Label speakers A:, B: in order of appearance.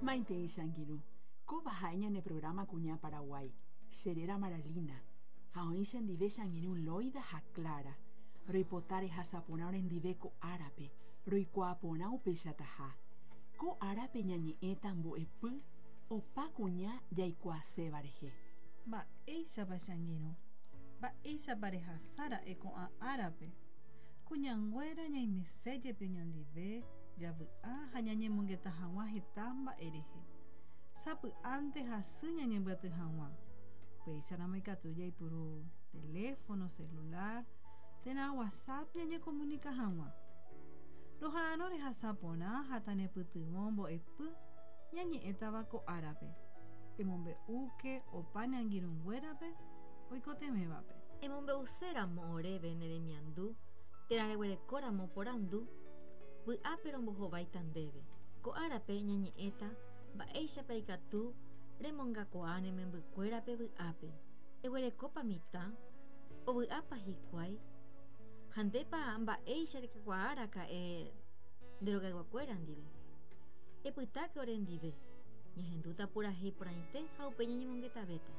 A: Maitei che angirũ, kóva ha'e ñane programa Kuña Paraguái. Che réra Maralina, ha oĩ chendive che angirũ Loida ha Clara. Roipota rehasa porã orendive ko árape, roikuaa porã upeichataha. Ko árape ñañe'ẽta mbo'epy opa kuña jaikuaaséva rehe.
B: Mba'éichapa che angirũ? Mba'éichapa rehasa ra'e ko'ã árape? Kuñanguéra ñaimese jepi oñondive, javy'a ha ñañemongeta hag̃ua heta mba'e rehe. Sapy'ánte hasy ñañembyaty hag̃ua. Upéicharamo ikatu jaipuru teléfono celular térã WhatsApp ñañekomunika hag̃ua. Roha'arõ rehasa porã ha tanepytyvõ mbo'epy ñañe'ẽtava ko árape. Emombe'úke opa ne angirũnguérape oikotevẽvape.
C: Emombe'uséramo oréve ne remiandu térã reguerekóramo porandu, vy'ápe rombohováita ndéve. Ko árape ñañe'ẽta mba'éichapa ikatu remongakuaa ne membykuérape vy'ápe. Eguerekópa mitã? Ovy'ápa hikuái? Ha ndépa mba'éicha rekakuaa raka'e nde rogayguakuéra ndive? Epytáke orendive, ñahendúta purahéi porãite ha upéi ñañemongetavéta.